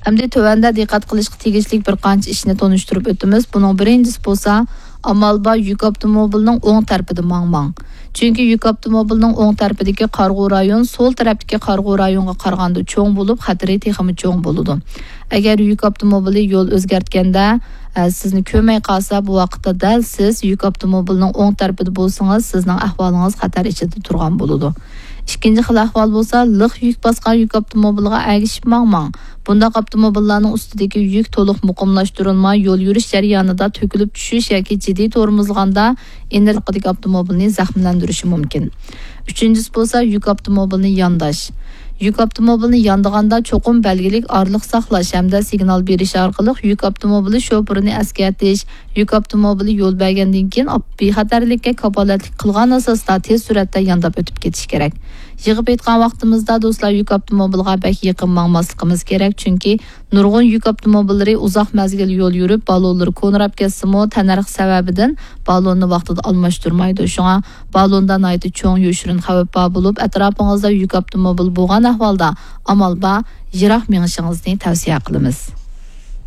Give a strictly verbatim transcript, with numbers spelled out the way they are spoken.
ئەمدى تۆۋەندە دىققەت قىلىشقا تېگىشلىك بىر قانچە ئىشنى تونۇشتۇرۇپ ئۆتىمىز. بۇنىڭ بىرىنچىسى بولسا، ئامال بار يۈك ئاپتوموبىلىنىڭ ئوڭ تەرىپىدە ماڭماڭ. چۈنكى يۈك ئاپتوموبىلىنىڭ ئوڭ تەرىپىدىكى قارىغۇ رايون سول تەرەپتىكى قارىغۇ رايونغا قارىغاندا چوڭ بولۇپ، خەتىرى تېخىمۇ چوڭ بولىدۇ. ئەگەر يۈك ئاپتوموبىلى يول ئۆزگەرتكەندە، ئە، سىزنى كۆرمەي قالسا، بۇ ۋاقىتتا دەل سىز يۈك ئاپتوموبىلىنىڭ ئوڭ تەرىپىدە بولسىڭىز، سىزنىڭ ئەھۋالىڭىز خەتەر ئىچىدە تۇرغان بولىدۇ. ئىككىنچى خىل ئەھۋال بولسا، لىق يۈك باسقان يۈك ئاپتوموبىلىغا ئەگىشىپ ماڭماڭ. بۇنداق ئاپتوموبىللارنىڭ ئۈستىدىكى يۈك تولۇق مۇقىملاشتۇرۇلماي، يول يۈرۈش جەريانىدا تۆكۈلۈپ چۈشۈش ياكى جىددىي تورمۇزلىغاندا، ئېنىرلىقىدىكى ئاپتوموبىلنى زەخىملەندۈرۈشى مۇمكىن. ئۈچىنچىسى بولسا، يۈك ئاپتوموبىلنى يانداش. يۈك ئاپتوموبىلنى ياندىغاندا چوقۇم بەلگىلىك ئارىلىق ساقلاش ھەمدە سىگنال بېرىش ئارقىلىق يۈك ئاپتوموبىلى شوپۇرىنى ئەسكەرتىش، يۈك ئاپتوموبىلى يول بەرگەندىن كېيىن ئاپ-، بىخەتەرلىككە كاپالەتلىك قىلغان ئاساستا تېز سۈرئەتتە يانداپ ئۆتۈپ كېتىش كېرەك. يىغىپ ئېيتقان ۋاقتىمىزدا، دوستلار، يۈك ئاپتوموبىلىغا بەك يېقىن ماڭماسلىقىمىز كېرەك، چۈنكى نۇرغۇن يۈك ئاپتوموبىللىرى ئۇزاق مەزگىل يول يۈرۈپ، بالونلىرى كونىراپ كەتسىمۇ، تەننەرخ سەۋەبىدىن بالوننى ۋاقتىدا ئالماشتۇرمايدۇ. شۇڭا بالوندا ناھايىتى چوڭ يوشۇرۇن خەۋپ بار بولۇپ، ئەتراپىڭىزدا يۈك ئاپتوموبىل بولغان ئەھۋالدا ئامال بار يىراق مېڭىشىڭىزنى تەۋسىيە قىلىمىز.